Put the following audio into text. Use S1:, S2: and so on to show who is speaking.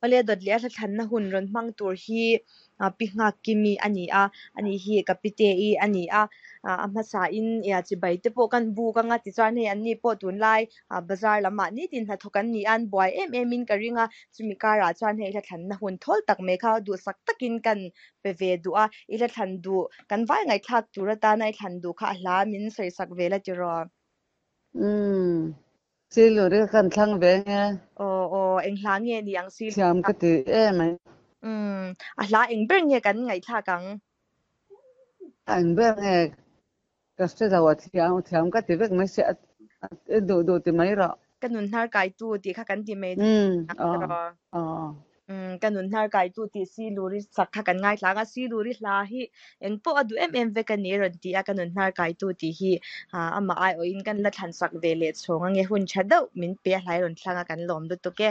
S1: Awle dawt leh a hla thlanna hun rawn hmang tur hi Pi Nghak Kimi a ni a, ani hi ka pite-i a ni a, a hmasain chibai te pawh kan buk anga tichuan hei anni pawh tunlai bazar lamah nitin hnathawk an ni a, an buai em em in ka ring a, chumi karah chuan hei hla thlanna hun thawl tak mai kha duhsak takin kan pe ve duh a, i hla thlan duh kan vai ngaihthlak tur atana i thlan duh kha a hla min sawisak ve la tiraw?
S2: Umm. Siluri ka kan thlang ve nge.
S1: Aw aw, eng hla nge ni ang Siluri
S2: Thiam
S1: kha?
S2: ka ti em mai.
S1: Umm, a hla eng ber nge kan ngaihthlak ang?
S2: A eng ber nge ka hre lo a thiam thiam ka ti vek mai sia a duh duh ti mai rawh.
S1: Ka nun hnar kaitu tih kha kan ti mai
S2: Umm,
S1: ang
S2: aw
S1: tiraw?
S2: aw.
S1: Umm, ka nun hnar kaitu tih Siluri sak kha kan ngaithla ang a, Siluri hla hi eng pawh a duh em em vek a ni a rawn ti a, ka nun hnar kaitu tih hi amah aiawhin kan la thlan sak ve leh chhawng ange, hun tha deuh min pe a hlai rawn thlang a kan lawm lutuk e.